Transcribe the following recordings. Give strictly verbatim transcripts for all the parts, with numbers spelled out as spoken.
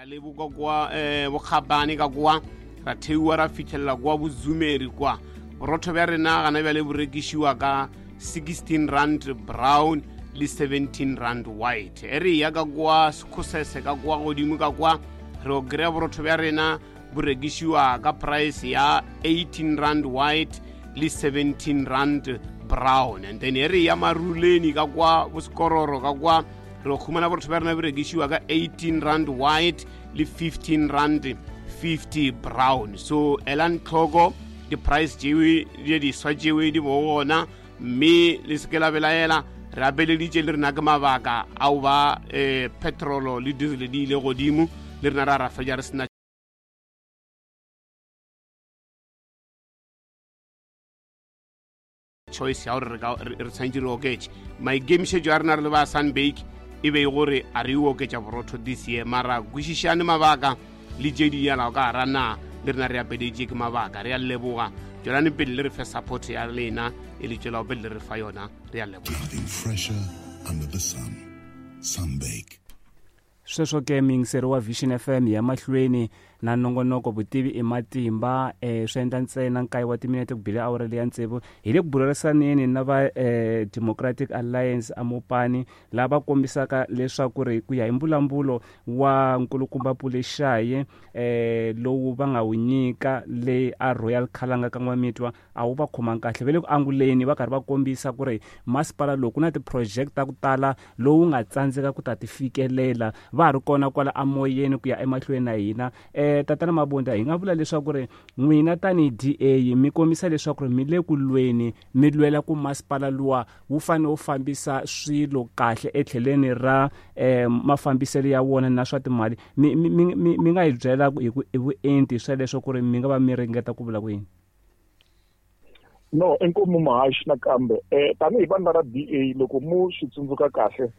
ya le bo kwa eh bokgabane ka kwa ra theiwa ra fitlhelela kwa bozumeri kwa borotho bja rena gana bjale bo rekišiwa ka sixteen rand brown le seventeen rand white. E re ya ka kwa Sekhosese ka kwa godimo ka kwa re o kry-a borotho bja rena bo rekišiwa ka price ya eighteen rand white le seventeen rand brown. And then e re ya Maruleni ka kwa bosekororo ka kwa re khumana borotho bja rena bo rekišiwa ka eighteen rand white le fifteen rand fifty brown. So elang tlhoko di-price tšewe di diswa tšewe di bo gona, mme le se ke la belaela. Re abeleditše le rena ke mabaka ao ba eh, petrolo le diesel di ile godimo, le rena ra ra fetša re sena choice ya gore re tshwanetse re oketše. Maikemišetšo a rena re le ba Sunbake e be gore a re oketša borotho this year, mara kwešišane mabaka le tše di yalago ka gara na le rena re apedetše ke mabaka. Re a leboga, tšwelane pele le re fe support ya lena e le tšwelago pele le re fa yona. Re a leboga. Nothing fresher under the sun. Sunbake. Sweswo ke miyingiseri wa Vision F M ya mahlweni na nongonoko vutivi i matimba. eh swi endla ntsena nkaye wa timinete ku bile awara leya tsevu. Hi le ku bulurisaneni na va eh, Democratic Alliance a Mopani lava kombisaka leswaku ri ku ya hi mbulambulo wa nkulukumba Pule Shaye eh lowu va nga wu nyika le a Royal Khalanga ka N'wamitwa a wu va khomanga kahle. Va le ku anguleni va karhi va kombisa ku ri masipala lowu ku na ti-project ta ku tala lowu nga tsandzeka ku ta ti fikelela. Va ha ri kona kwala amoyeni ku ya emahlweni na hina. Eh Tatana Mabunda, hi nga vula leswaku ri n'wina tanihi D A mi kombisa leswaku ri mi le ku lweni, mi lwela ku masipala luwa wu fanele wu fambisa swilo kahle etlheleni ra eh mafambiselo ya wona na swa timali. Mi mi mi nga hi byela hi ku hi vuenti sweleswo ku ri mi nga va mi ringeta ku vula ku yini? No, inkomu muhaxi nakambe. Eh tanihi vandla ra D A loko mu swi tsundzuka kahle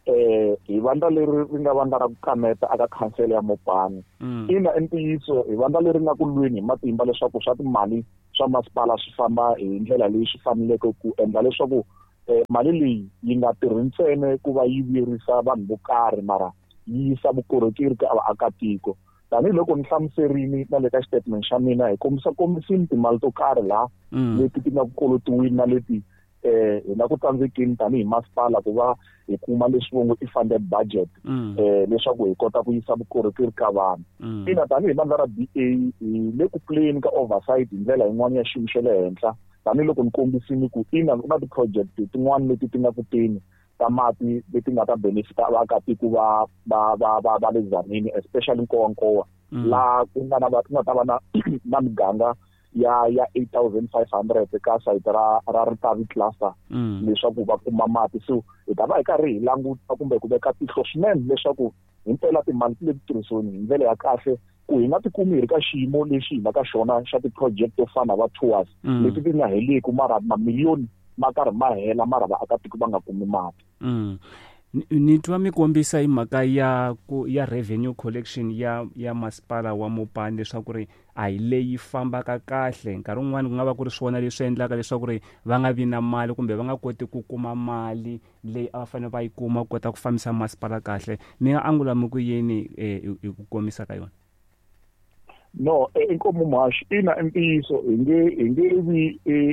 eh hi vandla leri ri nga vandla ra ku kaneta aka khansele ya Mopani. Ina i ntiyiso hi vandla leri nga ku lweni hi matimba leswaku swa timali swa masipala swi famba hi ndlela leyi swi faneleke ku endla leswaku eh mali leyi yi nga tirhi ntsena ku va yi vuyerisa vanhu vo karhi mara yi yisa vukorhokeri ka vaakatiko. Tanihiloko ni hlamuserini na le ka xitatimende xa mina hi kombisa kombisini timali to karhi laha leti ti nga ku kolotiwini na leti eh hi na ku tsandzekeni tanihi masipala ku va hi kuma leswi vongo i funded budget eh leswaku hi kota ku yisa vukorhokeri ka vanhu. Ina tanihi vandla ra D A hi le ku puleni ka oversight hi ndlela yin'wana ya xiyimo xa le henhla tanihiloko ni kombisini ku ina ku na ti-project tin'wana leti ti nga ku teni ta mati leti nga ta benefita vaakatiko va va va va va le Tzaneen, especially Nkowankowa laha ku nga na ku nga ta va na na miganga ya ya eight thousand five hundred ka site ra ra Ritavi cluster leswaku va kuma mati. So hi ta va hi karhi hi languta kumbe ku veka tihlo swinene leswaku himpela timali ti le ku tirhisiweni hi ndlela ya kahle ku hi nga tikumi hi ri ka xiyimo lexi hi nga ka xona xa ti-project to fana va tours leti ti nga heleku mara mamiliyoni ma karhi ma hela mara vaakatiko va nga kumi mati. Ni twa mi kombisa hi mhaka ya ku ya revenue collection ya ya masipala wa Mopani leswaku ri a hi leyi fambaka kahle. Nkarhi wun'wani ku nga va ku ri swona leswi endlaka leswaku ri va nga vi na mali kumbe va nga koti ku kuma mali leyi a va fanele va yi kuma ku kota ku fambisa masipala kahle. Mi nga angula mi ku yini hi ku komisa ka yona? No, inkomu muhaxi, ina i ntiyiso hi nge hi nge vi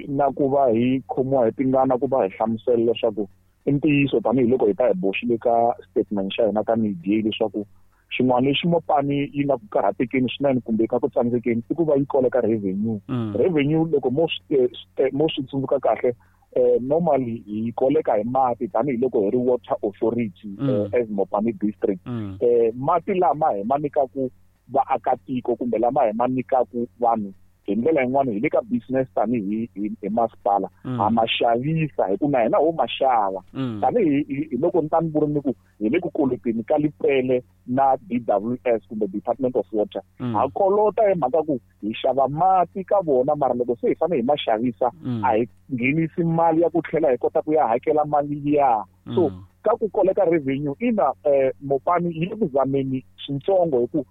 na ku va hi khomiwa hi tingana ku va hi hlamusela leswaku i ntiyiso tanihiloko hi ta hi boxile ka statement xa hina tanihi D A leswaku xin'wana lexi Mopani yi nga ku karhatekeni swinene kumbe ka ku tsandzekeni i ku va yi koleka revenue. Revenue loko mo swi mo swi tsundzuka kahle eh normally hi koleka hi mati tanihiloko hi ri water authority as Mopani district. Eh mati lama hi ma nyikaku vaakatiko kumbe lama hi ma nyikaku vanhu hi ndlela yin'wana hi le ka business tanihi hi masipala ha ma xavisa hi ku na hina ho ma xava. Tanihi hi loko ni ta ni vuri ni ku hi le ku koloteni ka Lepelle na D W S kumbe Department of Water. Ha kolota hi mhaka ku hi xava mati ka vona mara loko se hi fanele hi ma xavisa a hi nghenisi mali ya ku tlhela hi kota ku ya hakela mali liya. So ka ku koleka revenue ina eh Mopani yi le ku zameni swintsongo hi ku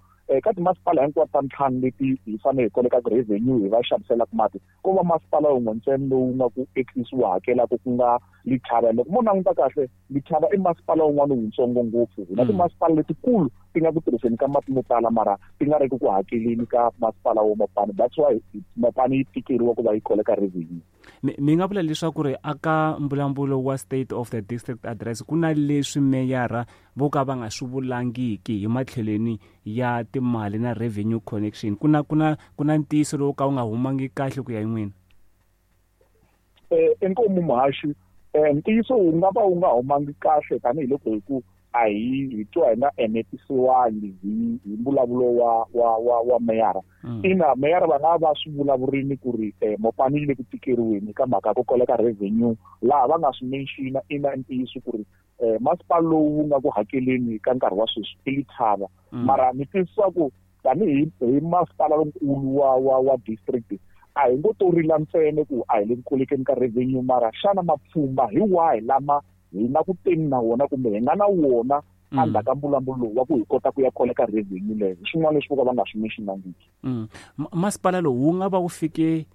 Ka timasipala hinkwato ta ntlhanu leti hi fanele hi kolekaka revenue hi va xaviselaka mati, ko va masipala wun'we ntsena lowu nga ku at least wu hakelaka ku nga Lethaba. Loko mo languta kahle, Lethaba i masipala wun'wana wutsongo ngopfu. Hi na timasipala letikulu ti nga ku tirhiseni ka mati mo tala mara ti nga ri ku hakeleni ka masipala wa Mopani. That's why Mopani yi tikeriwa ku va yi koleka revenue. Mi nga vula leswaku ri aka mbulavulo wa State of the District Address ku na leswi meyara vo ka va nga swi vulangiki hi matlhelweni ya timali na revenue connection, ku na ku na ku na ntiyiso lowu ka wu nga humangi kahle ku ya hi n'wina? Eh inkomu muhaxi, ntiyiso wu nga va wu nga humangi kahle tanihiloko hi ku a hi hi twa hi nga enetisiwangi hi hi mbulavulo wa wa wa wa meyara. Ina, meyara va nga va swi vulavurini ku ri Mopani yi le ku tikeriweni ka mhaka ya ku koleka revenue, laha va nga swi mention-a ina ntiyiso ku ri masipala lowu wu nga ku hakeleni ka nkarhi wa sweswi i Lethaba. Mara ni twisisa ku tanihi hi masipala lonkulu wa wa wa district a hi ngo to rila ntsena ku a hi le ku kolekeni ka revenue, mara xana mapfhumba hi wahi lama hi na ku teni na wona kumbe hi nga na wona endzhaku ka mbulavulo lowu wa ku hi kota ku ya koleka revenue leyo, hi swin'wana leswi vo ka va nga swi mention-angiki. Masipala lowu wu nga va wu fike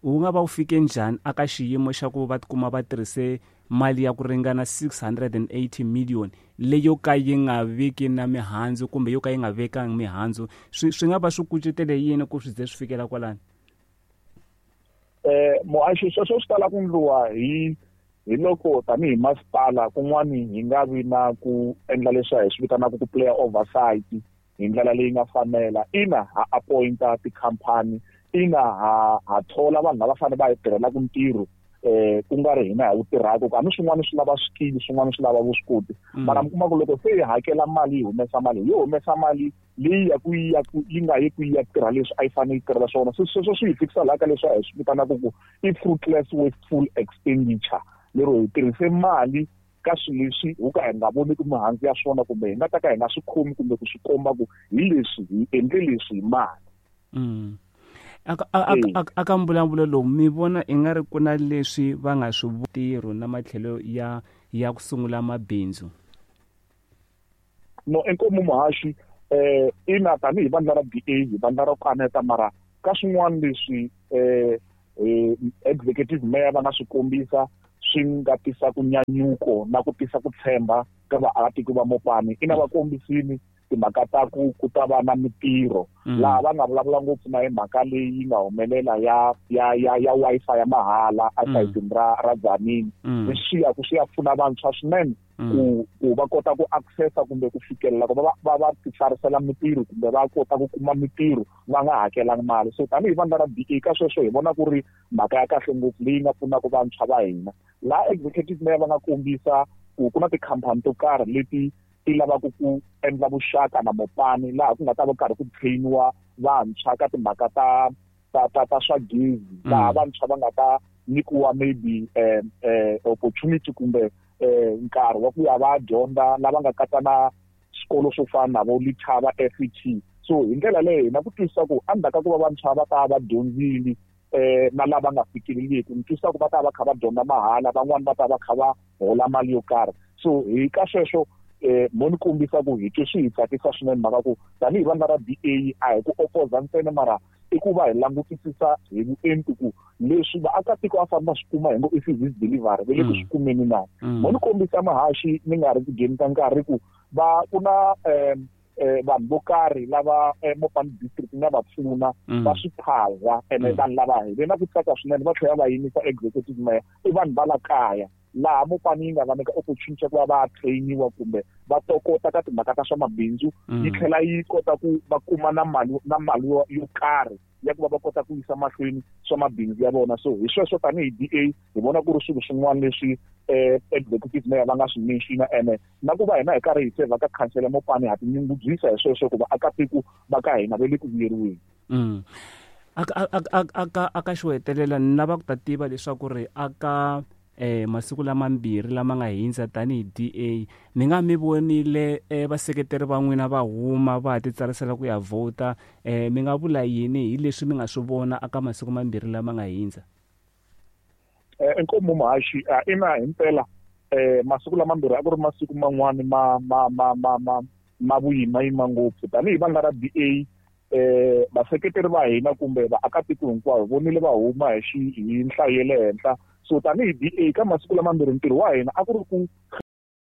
wu nga va wu fike njhani aka xiyimo xa ku va tikuma va tirhise mali ya ku ringana six hundred and eighty million leyo ka yi nga viki na mihandzu kumbe yo ka yi nga vekangi mihandzu, swi swi nga va swi kucetele yini ku swi ze swi fikela kwalani? Eh muhaxi, sweswo swi tala ku endliwa hi hi loko tanihi masipala kun'wani hi nga vi na ku endla leswi hi swi vitanaka ku player oversight hi ndlela leyi nga fanela. Ina, ha appointa tikhampani, ina ha ha thola vanhu lava fanele va hi tirhelaka ntirho eh ku nga ri hina hi wu tirhaka, ku hambi swin'wana swi lava swikili swin'wana swi lava vuswikoti. Mara mi kuma ku loko se hi hakela mali yi humesa mali, yi humesa mali leyi ya ku ya ku yi nga yi ku ya tirha leswi a yi fanele yi tirhela swona. Se sweswo swi hi fikisa laha ka leswi a hi swi vitanaka ku i fruitless wasteful expenditure, lero hi tirhise mali ka swilo leswi ho ka hi nga voniki mihandzu ya swona kumbe hi nga ta ka hi nga swi khomi kumbe ku swi komba ku hi leswi hi endle leswi hi mali. Aka aka mbulavulo lowu mi vona i nga ri ku na leswi va nga swi ntirho na matlhelo ya ya ku sungula mabindzu? No, inkomu muhaxi, eh ina tanihi vandla ra D A hi vandla ra kaneta, mara ka swin'wana leswi eh executive mayor va nga swi kombisa swi nga tisa ku nyanyuko na ku tisa ku tshemba ka vaakatiko va Mopani. Ina va kombisini timhaka ta ku ku ta va na mitirho, laha va nga vulavula ngopfu na hi mhaka leyi nga humelela ya ya ya ya Wi-Fi ya mahala esayitini ra ra Dzanini. Leswi ya ku swi ya pfuna vantshwa swinene ku ku va kota ku accessa kumbe ku fikelela ku va va va titsarisela mitirho kumbe va kota ku kuma mitirho va nga hakelangi mali. So tanihi vandla ra D A ka sweswo hi vona ku ri mhaka ya kahle ngopfu leyi nga pfunaka vantshwa va hina. Laha executive mayor va nga kombisa ku ku na tikhampani to karhi leti ti lavaka ku endla vuxaka na Mopani, laha ku nga ta va karhi ku trainiwa vantshwa ka timhaka ta ta ta ta swa gezi, laha vantshwa va nga ta nyikiwa maybe eh eh opportunity kumbe eh nkarhi wa ku ya va dyondza, lava nga katsa na swikolo swo fana na vo Lethaba F E T. So hi ndlela leyo hina ku twisisa ku endzhaku ka ku va vantshwa va ta va dyondzile eh na lava nga fikeleliki, ni twisisa ku va ta va kha va dyondza mahala, van'wani va ta va kha va hola mali yo karhi. So hi ka sweswo eh mo ni kombisa ku hi twe swi hi tsakisa swinene mhaka ku tanihi vandla ra D A a hi ku opoza ntsena, mara i ku va hi langutisisa hi vuenti ku leswi vaakatiko va fanele va swi kuma hi ngo i service delivery va le ku swi kumeni na. Mo ni kombisa mahaxi ni nga ri ku dyeni ka nkarhi ku va ku na eh vanhu vo karhi lava Mopani district nga va pfuna va swi phaza, ene vanhu lava hi ve na ku tsaka swinene va tlhela va yimisa executive mayor i vanhu va la kaya, laha Mopani yi nga va nyika opportunity ya ku va va trainiwa kumbe va tokota ka timhaka ta swa mabindzu, yi tlhela yi kota ku va kuma na mali na mali yo karhi ya ku va va kota ku yisa mahlweni swa mabindzu ya vona. So hi sweswo tanihi D A hi vona ku ri swilo swin'wana leswi eh executive mayor va nga swi mention-a, ene na ku va hina hi karhi hi sevha ka khansele Mopani ha tinyungubyisa hi sweswo ku vaakatiko va ka hina va le ku vuyeriweni. Aka aka aka xo hetelela ni lava ku ta tiva leswaku ri aka eh masiku lamambirhi lama nga hindza tanihi D A mi nga mi vonile eh vaseketeri va n'wina va huma va ti tsarisela ku ya vhota, eh mi nga vula yini hi leswi mi nga swi vona aka masiku mambirhi lama nga hindza? Eh inkomu muhaxi, ina himpela eh masiku lamambirhi a ku ri masiku man'wani ma ma ma ma ma Ma vuyimayima ngopfu tanihi vandla ra D A, eh vaseketeri va hina kumbe vaakatiko hinkwavo vonile va huma hi xi hi nhlayo ya le henhla. So tanihi D A ka masiku lamambirhi ntirho wa hina a ku ri ku